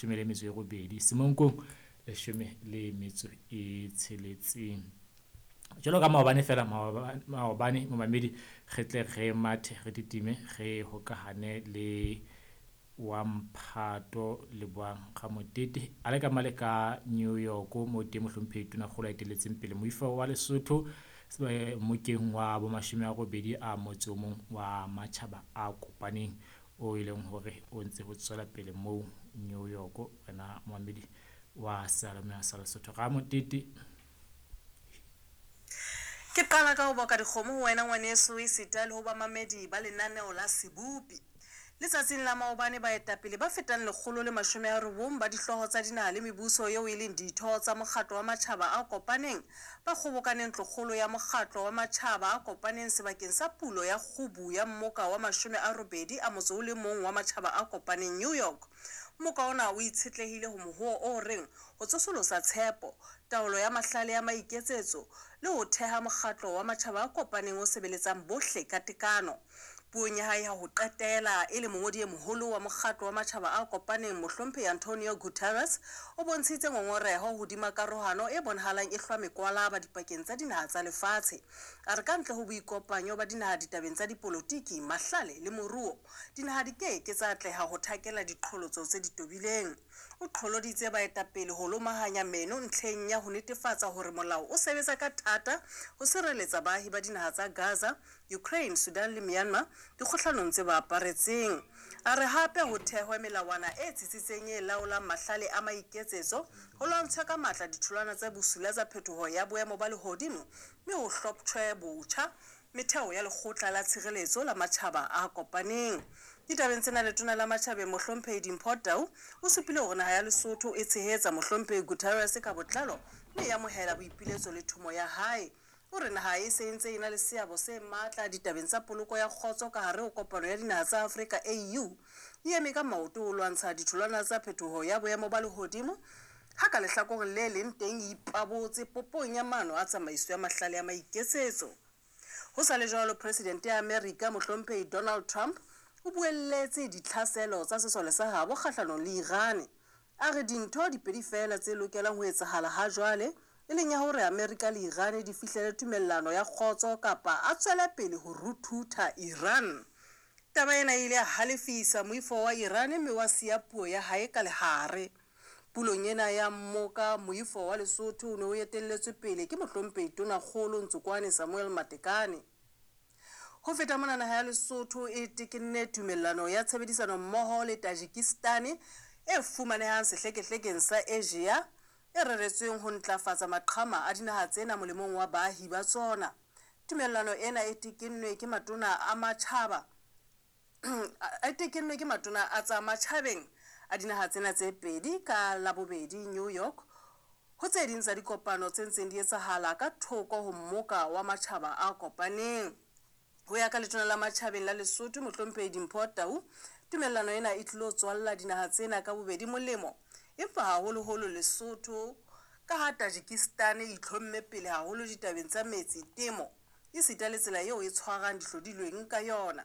18, Semonkong 16. Jwalo ka maobane fela, maobane momamedi re tle re mathe re titime re hokahane le wa Mphato Lebohang Ramotete a le ka male ka New York mo teng mohlomphehi Tonakgolo a etelletseng pele moifo wa Lesotho mokeng wa bo 80 a motse o mong wa matjhaba a kopaneng o e leng hore o ntse ho tswela pele moo New York. Wena momamedi wa seyalemoya sa Lesotho Ramotete. Ke qala ka ho boka dikgomo ho wena ngwaneso esita le ho bamamedi ba lenaneo la Sebopi. Letsatsing la maobane baetapele ba fetang 190 ba dihlooho tsa dinaha le mebuso eo e leng ditho tsa Mokgatlo wa Matjhaba a Kopaneng ba kgobokane ntlokgolo ya Mokgatlo wa Matjhaba a Kopaneng sebakeng sa pulo ya kgubu ya mmoka wa 81 a motso o le mong wa Matjhaba a Kopaneng New York. Mmoka ona o itshetlehile ho mohoo o reng ho tsosolosa tshepo, taolo ya mahlale ya maiketsetso le ho theha mokgatlo wa matjhaba a kopaneng o sebeletsang bohle ka tekano. Puong ya hae ya ho qetela e le mongodi e moholo wa Mokgatlo wa Matjhaba a Kopaneng Mohlomphehi Antonio Guterres o bontshitse ngongoreho hodima karohano e bonahalang e hlwa mekwalaba dipakeng tsa dinaha tsa lefatshe. A re ka ntle ho boikopanyo ba dinaha ditabeng tsa dipolotiki, mahlale le moruo, dinaha di ke ke tsa atleha ho thakela diqholotso tse di tobileng. O qholoditse baetapele ho lomahanya meno ntlheng ya ho netefatsa hore molao o sebetsa ka thata ho sireletsa baahi ba dinaha tsa Gaza, Ukraine, Sudan le Myanmar dikgohlanong tse ba aparetseng. A re hape ho thehwe melawana e tsitsitseng e laolang mahlale a maiketsetso, ho lwantshwe ka matla ditholwana tse bosula tsa phetoho ya boemo ba lehodimo mme ho hloptjhwe botjha metheo ya Lekgotla la Tshireletso la Matjhaba a Kopaneng. Ditabeng tsena Letona la Matjhabeng Mohlomphehi Dimpho Tau o supile hore naha ya Lesotho e tshehetsa Mohlomphehi Guterres ka botlalo mme e amohela boipiletso le thomo ya hae. O re naha e se e ntse e na le seabo se matla ditabeng tsa poloko ya kgotso ka hare ho kopano ya dinaha tsa Afrika AU. E eme ka maoto ho lwantsha ditholwana tsa phetoho ya boemo ba lehodimo ha ka lehlakoreng le leng teng e ipabotse popong ya maano a tsamaiso ya mahlale a maiketsetso. Ho sa le jwalo, Presidente ya Amerika Mohlomphehi Donald Trump o buelletse ditlhaselo tsa sesole sa habo kgahlanong le Iran. A re dintho di pedi feela tse lokelang ho etsahala ha jwale, e leng ya hore Amerika le Iran di fihlele tumellano ya kgotso kapa a tswele pele ho ruthutha Iran. Taba ena e ile ya halefisa moifo wa Iran mme wa siya puo ya hae ka lehare. Pulong ena ya mmoka, moifo wa Lesotho o ne o etelletswe pele ke Mohlomphehi Tonakgolo Ntsokoane Samuel Matekane. Ho feta mona, naha ya Lesotho e tekenne tumellano ya tshebedisano mmoho le Tajikistan e fumanehang sehlekehlekeng sa Asia e reretsweng ho ntlafatsa maqhama a dinaha tsena molemong wa baahi ba tsona. Tumellano ena e tekennwe ke matona a matjhaba e tekennwe ke matona a tsa matjhabeng a dinaha tsena tse pedi ka Labobedi New York ho tse ding tsa dikopano tse ntseng di etsahala ka thoko ho mmoka wa matjhaba a kopaneng. Ho ya ka Letona la Matjhabeng la Lesotho Mohlomphehi Dimpho Tau, tumellano ena e tlilo tswalla dinaha tsena ka bobedi molemo, empa haholoholo Lesotho ka ha Tajikistan e itlhomme pele haholo ditabeng tsa metsi, temo, esita le tsela eo e tshwarang dihlodilweng ka yona.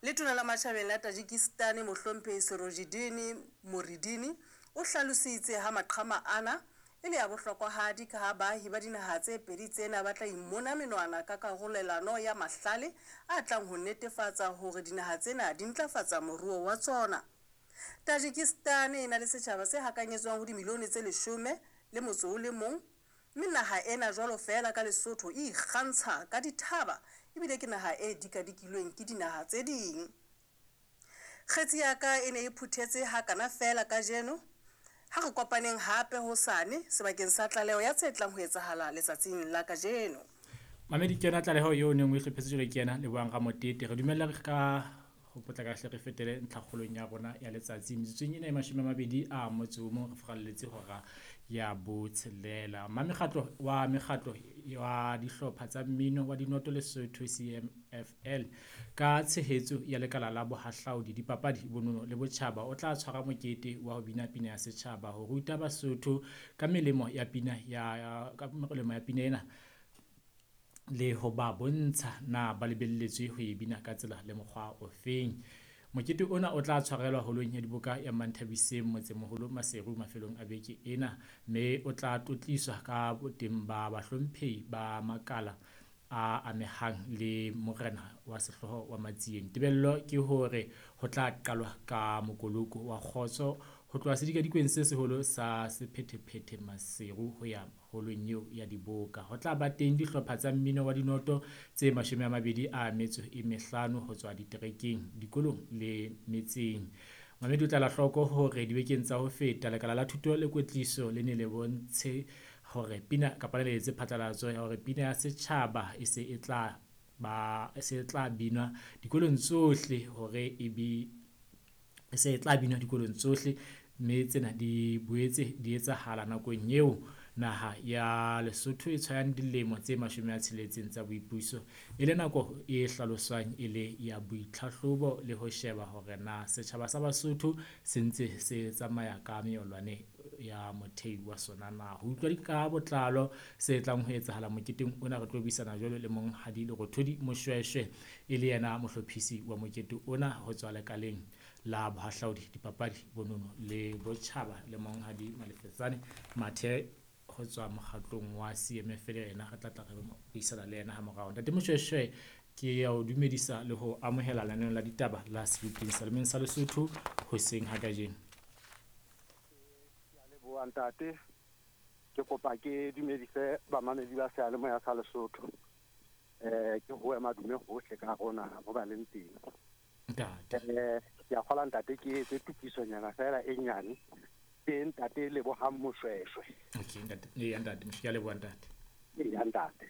Letona la Matjhabeng la Tajikistan Mohlomphehi Sirojiddin Muridini o hlalositse ha maqhama ana e le a bohlokwahadi ka ha baahi ba dinaha tse pedi tsena ba tla imona menwana ka karolelano ya mahlale a tlang ho netefatsa hore dinaha tsena di ntlafatsa moruo wa tsona. Tajikistan e na le setjhaba se hakanyetswang ho dimilione tse 11, mme naha ena jwalo feela ka Lesotho e ikgantsha ka dithaba ebile ke naha e dikadikilweng ke dinaha tse ding. Kgetsi ya ka e ne e phuthetse hakana feela kajeno. Ha re kopaneng hape hosane sebakeng sa tlaleho ya tse tlang ho etsahala letsatsing la kajeno. Mamedi, ke yona tlaleho eo neng o e hlophetse jwale ke yena Lebohang Ramotete. Re dumella ka ho potlaka hle re fetele ntlhakgolong ya rona ya letsatsi. Metsotsong ena e 21 re furalletse hora ya 6. Mamekgatlo wa mekgatlo wa dihlopha tsa mmino wa dinoto Lesotho CMFL ka tshehetso ya lekala la bohahlaudi, dipapadi, bonono le botjhaba o tla tshwara mokete wa ho bina pina ya setjhaba ho ruta Basotho ka melemo ya pina ya ka melemo ya pina ena le ho ba bontsha na ba lebelletswe ho e bina ka tsela le mokgwa ofeng. Mokete ona o tla tshwarelwa holong ya diboka ya Manthabiseng motsemoholo Maseru mafelong a beke ena, mme o tla tlotliswa ka boteng ba bahlomphehi ba makala a amehang le morena wa sehlooho wa Matsieng. Tebello ke hore ho tla qalwa ka mokoloko wa kgotso ho tloha sedikadikweng se seholo sa sephethephethe Maseru ho ya holong eo ya diboka. Ho tla ba teng dihlopha tsa mmino wa dinoto tse 25 ho tswa diterekeng, dikolong le metseng. Mamedi o tla la hloko hore dibekeng tsa ho feta lekala la thuto le kwetliso le ne le bontshe hore pina kapa le etse phatlalatso ya hore pina ya setjhaba e se e tla ba e se tla binwa dikolong tsohle hore e be e se e tla binwa dikolong tsohle, mme tsena di boetse di etsahala nakong eo naha ya Lesotho e tshwayang dilemo tse 60 tsa boipuso, e le nako e hlaloswang e le ya boitlhahlobo le ho sheba hore na setjhaba sa Basotho se ntse se tsamaya ka meolwane ya mothei wa sona na. Ho utlwa ka botlalo se tlang ho etsahala moketeng ona, re tlo buisana jwalo le Monghadi Lerothodi Moshweshwe, e le yena mohlophisi wa mokete ona ho tswa lekaleng la bohahlaudi, dipapadi, bonono le botjhaba, le Monghadi Malefetsane Mathe ho tswa mokgatlong wa CMF, le yena re tla tla re buisana le yena ha morao. Ntate Moshweshwe, ke ya o dumedisa le ho amohela lenaneo la ditaba la Seboping Salemeng sa Lesotho hoseng ha kajeno. Ke a leboha ntate, ke kopa ke dumedise bamamedi ba seyalemoya sa Lesotho. Ke hoe madume hohle ka rona mo ba leng teng. Ntate. Ke a kgola ntate ke etse tokisonyana fela e nyane. Ke ntate Lebohang Moshweshwe. Okay ntate, ee ntate, ke a leboha ntate. Ee ntate.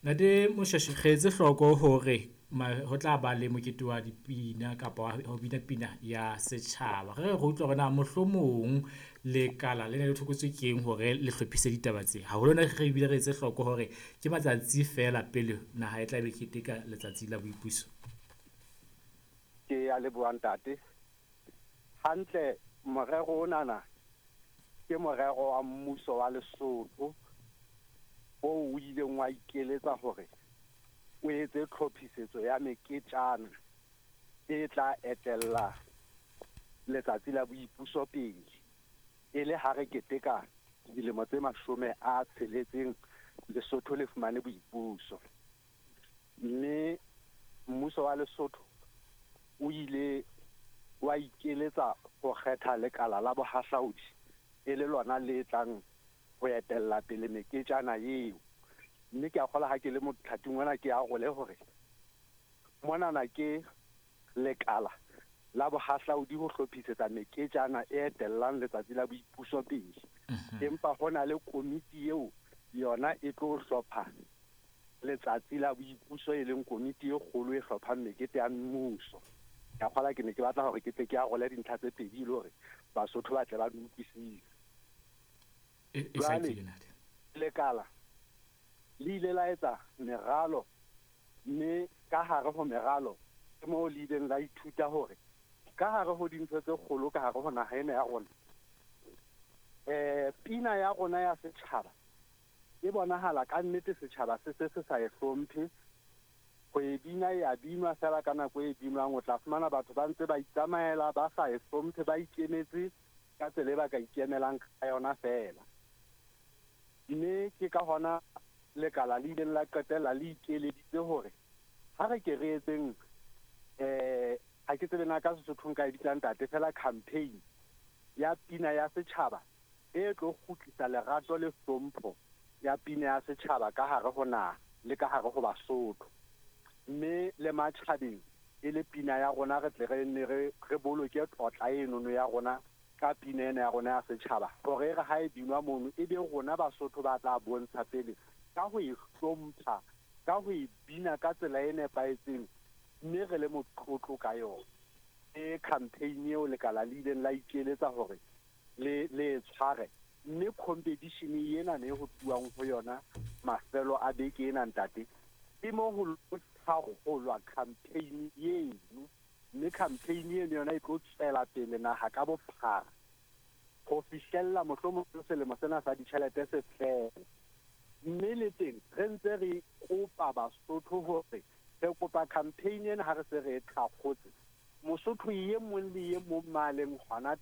Ntate Moshweshwe, re etse hloko hore ho tla ba le mokete wa dipina kapa ho bina pina ya setjhaba. Re utlwa hore na mohlomong lekala le ne le thokotswe keng hore le hlophise ditaba tse. Haholo na re bile re etse hloko hore ke matsatsi feela pele naha e tla be keteka letsatsi la boipuso. Ke a leboha ntate. Hantle morero onana ke morero wa mmuso wa Lesotho o o ileng wa ikeletsa hore o etse tlhophisetso ya meketjana e tla etella letsatsi la boipuso pele, e le ha re keteka dilemo tse 60 Lesotho le fumane boipuso. Mme mmuso wa Lesotho o ile wa ikeletsa ho kgetha lekala la bohahlaudi e le lona le tlang ho etella pele meketjana eo. Mme ke a kgola ha ke le mothating ona ke arole hore monana ke lekala la bohahlaudi ho hlophisetsa meketjana e etellang letsatsi la boipuso pele. Empa hona le komiti eo yona e tlo hlopha letsatsi la boipuso, e leng komiti e kgolo e hlophang mekete ya mmuso. Ke a kgola ke ne ke batla hore ke tle ke arole dintlha tse pedi le hore Basotho ba tle ba di utlwisise. E hlakile ntate. Lekala le ile la etsa meralo, mme ka hare ho meralo ke moo le ileng la ithuta hore ka hare ho dintho tse kgolo ka hare ho naha ena ya rona, pina ya rona ya setjhaba e bonahala ka nnete setjhaba se se se sa e hlomphe. Ho e bina e a binwa fela ka nako e binwang, o tla fumana batho ba ntse ba itsamaela ba sa e hlomphe, ba ikemetse ka tsela e ba ka ikemelang ka yona fela. Mme ke ka hona lekala le ileng la qetella le ikeleditse hore ha re ke re etseng, ha ke tsebe na ka Sesothong ka e bitsang ntate, fela campaign ya pina ya setjhaba e tlo kgutlisa lerato le hlompho ya pina ya setjhaba ka hare ho naha le ka hare ho Basotho. Mme le matjhabeng e le pina ya rona, re tle re nne re boloke tlotla enono ya rona ka pina ena ya rona ya setjhaba, hore re ha e binwa mono e be rona Basotho ba tla bontsha pele ka ho e hlompha, ka ho e bina ka tsela e nepahetseng, mme re le motlotlo ka yona. E campaign eo lekala le ileng la ikeletsa hore le e tshware, mme competition ena ne ho tluwang ho yona mafelo a beke ena ntate, ke mo ho thakgolwa campaign eno. Mme campaign eno yona e tlo tswela pele naha ka bophara ho fihlella mohlomong selemo sena sa ditjhelete se fela. Mme le teng re ntse re kopa Basotho hore Re kopa campaign ena ha re se re e thakgotse, Mosotho e mong le e mong ma leng hona.